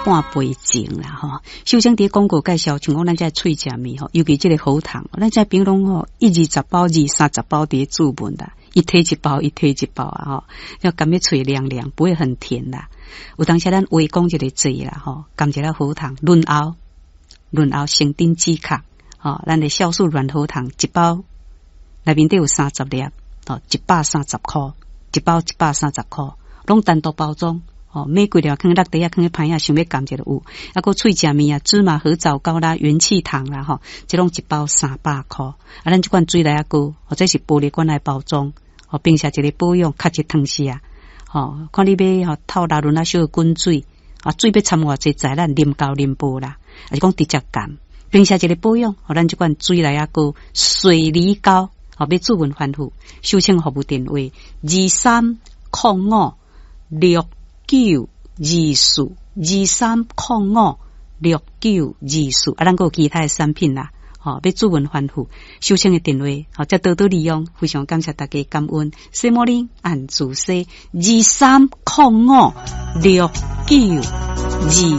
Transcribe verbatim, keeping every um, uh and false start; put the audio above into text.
半杯前啦吼。首先佇廣告介紹，像講咱這喙食物吼，尤其這個喉糖，咱這朋友攏吼一二十包、二三十包佇咧注文啦，一提一包，一提一包啊吼，要感覺喙涼涼，不會很甜啦。有當時咱話講一個字啦吼，含一粒喉糖潤喉，潤喉成頂止咳，吼，咱的酵素軟喉糖一包內面底有三十粒，吼，一百三十箍，一包一百三十箍，攏單獨包裝。哦，買幾粒囥落袋仔，囥咧歹仔，想欲含一下有。啊，閣喙食物啊，芝麻核棗糕啦，元氣糖啦，吼，這攏一包三百箍。啊，咱這款水螺仔糕，或者是玻璃罐來包裝，吼，平時一個保養，較一湯匙啊。吼，看你欲吼透熱潤啊，小滾水，啊，水欲摻偌濟，在咱啉厚啉薄啦，抑是講直接含。平時一個保養，予咱這款水螺仔糕、水梨糕，吼，欲諮詢番號，收請服務電話二三空五六九二四二三空五六九二四，啊，咱閣有其他的產品啦，吼，欲諮詢番號，收請的電話，吼，才多多利用，非常感謝大家感恩。西摩林按主西二三空五六九二。